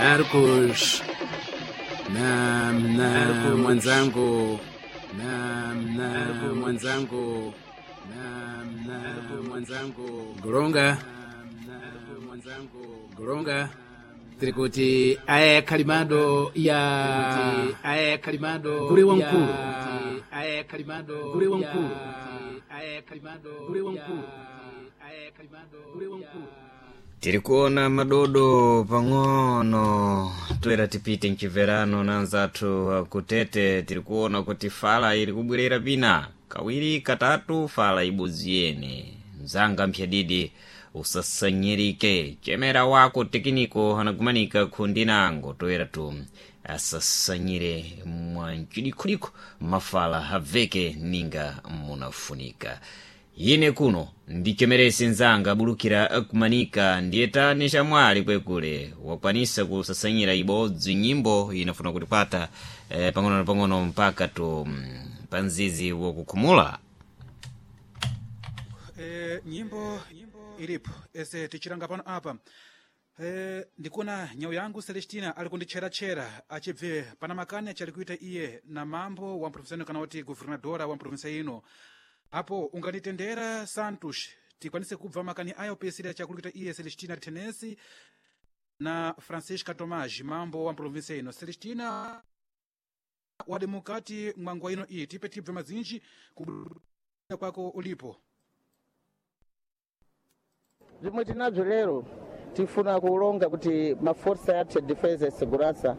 Marcos na mwenzangu na mwenzangu na mwenzangu Golonga na mwenzangu Golonga tiri kuti aya kalimado ya aya kalimado Gure wankulu. Aya kalimado Gure wankulu. Aya kalimado Gure wankulu. Aya kalimado Gure wankulu. Tiri kuona madodo pang'ono toera tipite mchiverano na anzathu akutete. Tiri kuona kuti fala ili kubwerera pina kawiri katatu, fala ibodzi yene. Mzanga mphyadidi, usasanyirike, chemera wako tekiniko anagumanika khundinango toera tu asasanyire mwanchidikhulikhu mafala aveke ninga munafunika. Ine kuno ndichemerese nzanga abulukira kumanika, ndiye tani chamwali kwekule wakwanisa kusasanyira ibodzi nyimbo inafuna kutipata pang'ono na pang'ono mpaka tu panzizi wakukhumula. Nyimbo ilipo ese tichilanga pano apa. Ndikuona nyau yangu Celestina ali kunditcheratchera achibve pana makani achali kuita iye na mambo wa mprovinsa ino, kana kuti guvernadora wa mprovinsa ino. Apo unganitendera, Santos, tikwanise kubva makani ayo pesiri achakulukuita iye Celestina Tenesi na Francisca Tomás, mambo wa mprovinsa ino. Celestina wadi mukati mwa nguwa ino iyi, tipe tibve mazinji kubuda kwako ulipo. Zimwe tinabzo lero, tifuna kulonga kuti maforsa yathu ya defensa ya segurança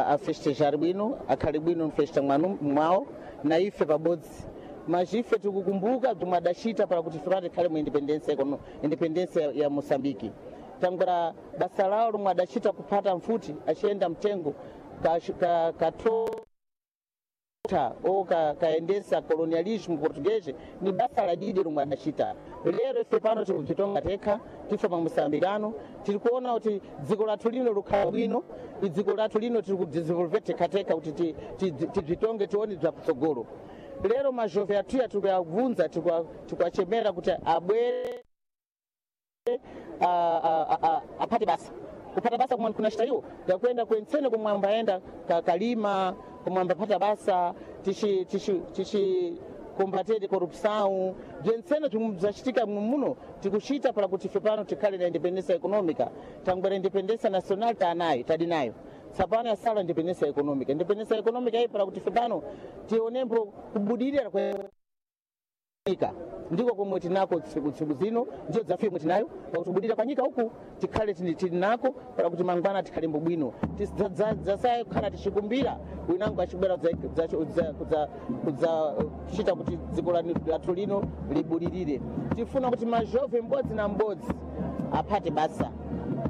afestejar bwino, akhale bwino mfesta mwanu mwawo na ife pabodzi. Mas ife tikukumbuka bzomwe adacita para kuti ife tikhale mu independência independência ya Moçambique. Tangwera basa lawo lomwe adacita kuphata mfuti aciyenda mtengo katota ou kaendesa colonialismo português, ni basa la didi lomwe adacita. Lero ife pano tikudzitonga tekha, tife pa moçambicano, tiri kuona kuti dziko lathu lino likhala bwino. Dziko lathu lino tiri kudesenvolver tekhatekha kuti tibzitonge, tione bzakutsogolo. Lero majove athuya tikuwabvunza, tikuwachemera kuti abwere apate basa. Kupata basa kumwe kunachita iwo yakwenda kwentsene kumwe ambayenda kalima, kumwe ambapata basa. Tichi combater corrupção, bzentsene bzomwe bzachitika muno, tikuchita para kuti ife pano tikhale na independência econômica. Tangwera independência nacional tanayo, tadi nayo, tsapano yasala independência econômica. Independência econômica iyi para kuti ife pano tionembo kubudirira kwa nyika, ndiko komwe tinako tsiku zino, ndiyo dzafika komwe tinayo pakuti kubudira kwa nyika uku tikhale tili nako para kuti mangwana tikhale mbobwino, zasaye kukhala tichikumbira winango achibwera kudza kuchita kuti dziko lathu lino libudirire. Tifuna kuti majove mbodzi na mbodzi aphate basa,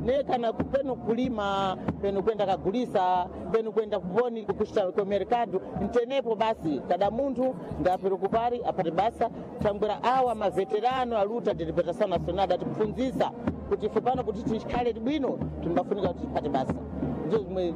ne kana penu kulima, penu kwenda kagulisa, penu kwenda kuponi kuchita ku mercado, ntenepo basi kada munthu ndapero kupari apate basa. Tangwera awa maveterano aluta de libertação nacional atikufunzisa kuti ife pano kuti tikhale bwino timbafunika kuti tipate basa, ndizo zimwe.